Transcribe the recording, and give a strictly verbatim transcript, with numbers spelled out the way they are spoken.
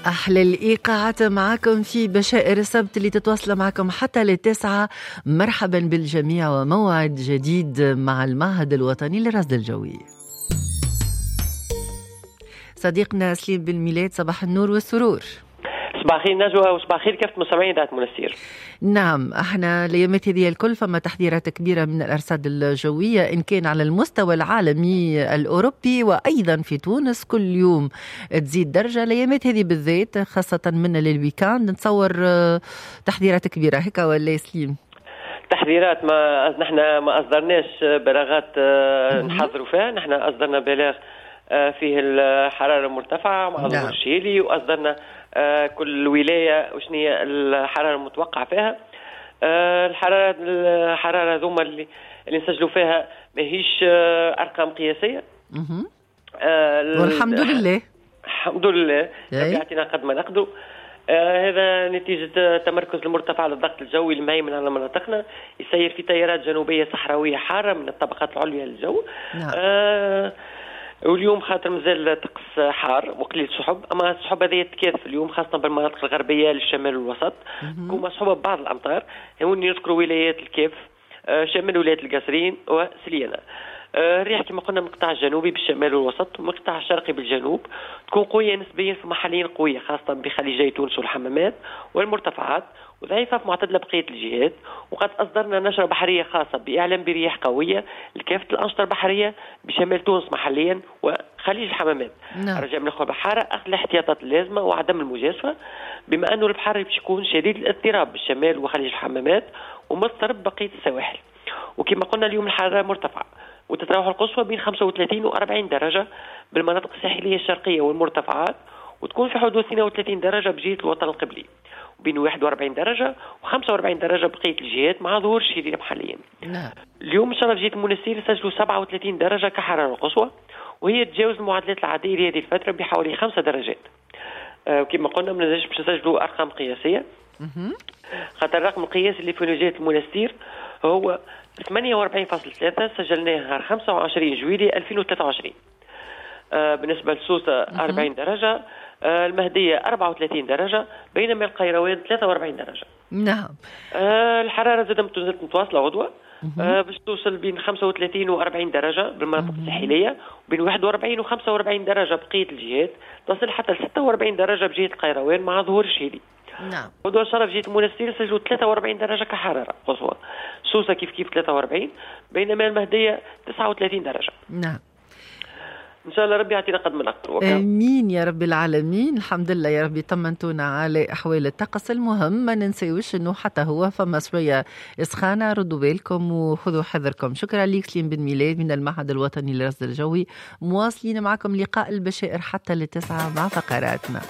أحلى الإيقاعات معكم في بشائر السبت اللي تتواصل معكم حتى للتسعة. مرحبا بالجميع وموعد جديد مع المعهد الوطني للرصد الجوي. صديقنا سليم بن ميلاد، صباح النور والسرور. صباح الخير نجوى وصباح الخير كافة مستمعين إذاعة منستير. نعم، احنا الايامات هذه الكل فما تحذيرات كبيرة من الارصاد الجوية ان كان على المستوى العالمي الاوروبي وايضا في تونس، كل يوم تزيد درجه. الايامات هذه بالذات خاصة من لل week-end نتصور تحذيرات كبيرة هيك ولا سليم؟ تحذيرات ما نحن ما اصدرناش بلاغات نحذروا فيها، نحن اصدرنا بلاغ فيه الحرارة المرتفعة مع ظهور الشهيلي، واصدرنا كل ولاية وشنو هي الحرارة المتوقعة فيها. الحرارة الحرارة ذوما اللي اللي نسجلوا فيها ماهيش ارقام قياسية. والحمد لله، الحمد لله ربي يعطينا قد ما نقدروا. آه هذا نتيجة تمركز المرتفع للضغط الجوي المهيمن على مناطقنا، يسير في تيارات جنوبية صحراوية حارة من الطبقات العليا للجو. نعم. آه واليوم خاطر مازال طقس حار وقليل سحب، اما السحب هذه تكاثف اليوم خاصة بالمناطق الغربية للشمال والوسط، تكون مصحوبه ببعض الامطار. هوني نذكروا ولايات الكاف، شمال ولاية القصرين وسليانه. الريح كما قلنا من القطاع الجنوبي بالشمال والوسط ومن القطاع الشرقي بالجنوب، تكون قوية نسبيا في محليين قوية خاصة بخليجي تونس والحمامات والمرتفعات، وضعيفه في معتدلة بقية الجهات. وقد اصدرنا نشره بحرية خاصة باعلام برياح قوية لكافة الانشطة البحرية بشمال تونس محليا وخليج الحمامات. نعم. رجاء من الاخوة البحارة اخذ الاحتياطات اللازمة وعدم المجازفة، بما انه البحر باش يكون شديد الاضطراب بالشمال وخليج الحمامات ومضطرب بقية السواحل. وكما قلنا اليوم الحرارة مرتفعة وتتراوح القصوى بين خمسة وثلاثين وأربعين درجة بالمناطق الساحلية الشرقية والمرتفعات، وتكون في حدود اثنين وثلاثين درجة بجهة الوطن القبلي، وبين واحد وأربعين درجة وخمسة وأربعين درجة بقية الجهات مع ظهور شديد محليا. نعم. اليوم إن شاء الله بجهة المنستير سجلوا سبعة وثلاثين درجة كحرارة قصوى، وهي تجاوز المعدلات العادية لهذه الفترة بحوالي خمسة درجات. أه وكما قلنا ما نجمش باش نسجلوا أرقام قياسية، خاطر الرقم القياسي اللي في جهة المنستير هو ثمانية وأربعين فاصلة ثلاثة سجلناه نهار خمسة وعشرين جويلية ألفين وثلاثة وعشرين. آه بالنسبة لسوسة أربعين درجة، آه المهدية أربعة وثلاثين درجة، بينما القيروان ثلاثة وأربعين درجة. نعم. آه الحرارة زادت متواصلة غدوة، آه باش توصل بين خمسة وثلاثين وأربعين درجة بالمناطق الساحلية، وبين واحد وأربعين وخمسة وأربعين درجة بقية الجهات، تصل حتى ستة وأربعين درجة بجهة القيروان مع ظهور الشهيلي. نعم. غدوة إن شاء الله في جهة المنستير سجلوا ثلاثة وأربعين درجة كحرارة قصوى، سوسة كيف كيف ثلاثة وأربعين، بينما المهدية تسعة وثلاثين درجة. نعم. إن شاء الله ربي يعطينا قد ما نقدر. آمين يا رب العالمين. الحمد لله يا ربي طمنتونا على أحوال الطقس. المهم ما ننساوش أنه حتى هو فما شوية سخانة، ردوا بالكم وخذوا حذركم. شكرا لك سليم بن ميلاد من المعهد الوطني للرصد الجوي. مواصلين معكم لقاء البشائر حتى للتسعة مع فقراتنا.